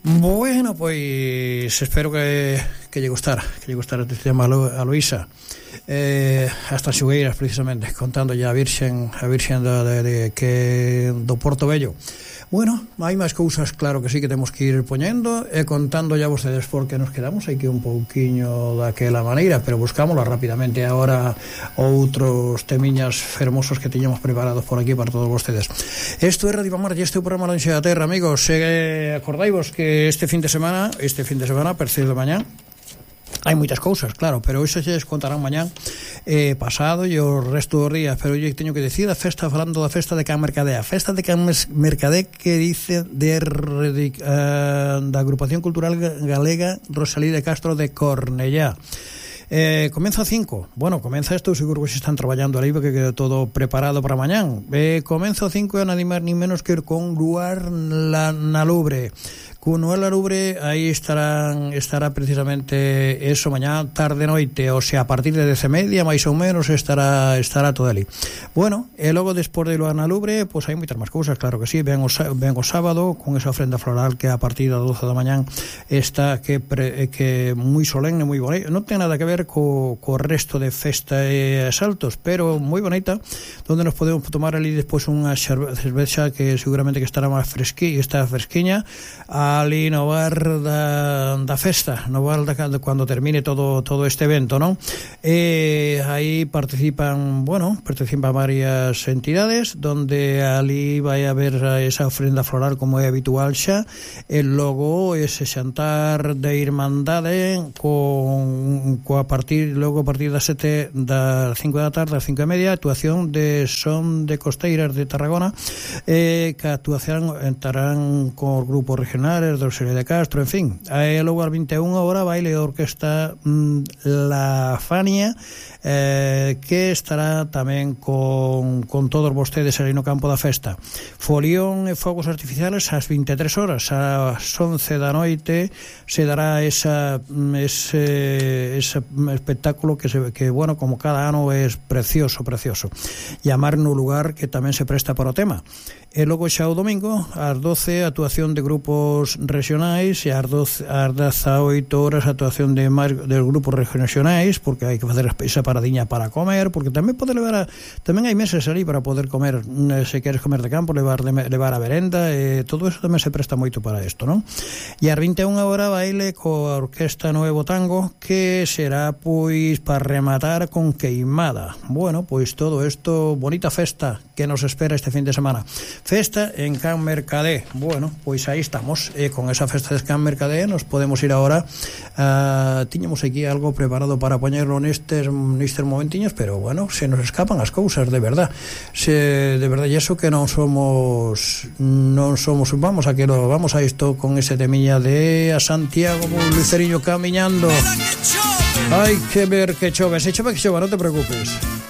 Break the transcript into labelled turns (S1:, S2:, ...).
S1: Bueno, pois espero que lle gustara este tema a Luisa. Hasta Xugueiras, precisamente, contándolle a Virxen do Porto Vello. Bueno, hai máis cousas, claro que sí, que temos que ir poñendo e contando ya vostedes porque nos quedamos aquí un pouquiño daquela maneira, pero buscámoslo rapidamente agora outros temiñas fermosos que tiñamos preparados por aquí para todos vostedes. Isto é Radio Pamar e este é o programa Lonxe da Terra, amigos. Acordaivos que este fin de semana, percedo de mañá, hai moitas cousas, claro, pero iso xa les contarán mañán pasado e o resto dos días. Pero eu teño que decir falando da festa de Can Mercadé. A festa de Can Mercadé que dice da Agrupación Cultural Galega Rosalía de Castro de Cornellá. Comeza a 5. Bueno, comeza isto, seguro que se están traballando ali porque quedou todo preparado para mañán. Comeza a 5 e non máis ni menos que ir con Luar na Lubre. Con Noel Arubre aí estará precisamente eso mañá, tarde, noite, o sea, a partir de 10:30 máis ou menos estará todo ali. Bueno, e logo despois de Luar na Lubre, pois hai moitas máis cousas, claro que sí. Ven o sábado con esa ofrenda floral que a partir das 12 da mañán está que moi solemne, moi bonita. Non ten nada que ver co resto de festa e asaltos, pero moi bonita, donde nos podemos tomar ali despois unha cervexa que seguramente que estará máis fresquiña ali no bar da festa, no bar cando termine todo este evento, non? E aí participan varias entidades, donde ali vai haber esa ofrenda floral como é habitual xa, e logo ese xantar de irmandade a partir das 5 da tarde a 5:30, actuación de son de costeiras de Tarragona, que actuación entrarán con grupos regionales de Rosalía de Castro, en fin. Logo ás 21 horas baile de orquesta La Fania, que estará tamén con todos vostedes ali no campo da festa. Folión e fogos artificiales ás 23 horas, ás 11 da noite se dará ese espectáculo que bueno, como cada ano é precioso. Llamar no lugar que tamén se presta para o tema. E logo xa o domingo ás 12 actuación de grupos regionais e ás 18 horas actuación de grupos regionais, porque hai que facer esa paradiña para comer, porque tamén tamén hai meses ali para poder comer, se queres comer de campo, levar a merenda, e todo eso tamén se presta moito para isto, non? E ás 21 horas baile coa Orquesta Nuevo Tango, que será pois para rematar con queimada. Bueno, pois todo isto, bonita festa que nos espera este fin de semana. Festa en Can Mercadé. Bueno, pois aí estamos, e con esa festa de Can Mercadé nos podemos ir agora. Tiñamos aquí algo preparado para poñerlo nestes momentiños, pero bueno, se nos escapan as cousas, de verdad. De verdad, e eso que non somos vamos a isto con ese temiña de a Santiago con un luceriño camiñando. Hai que ver que chove, se chove que chova, non te preocupes.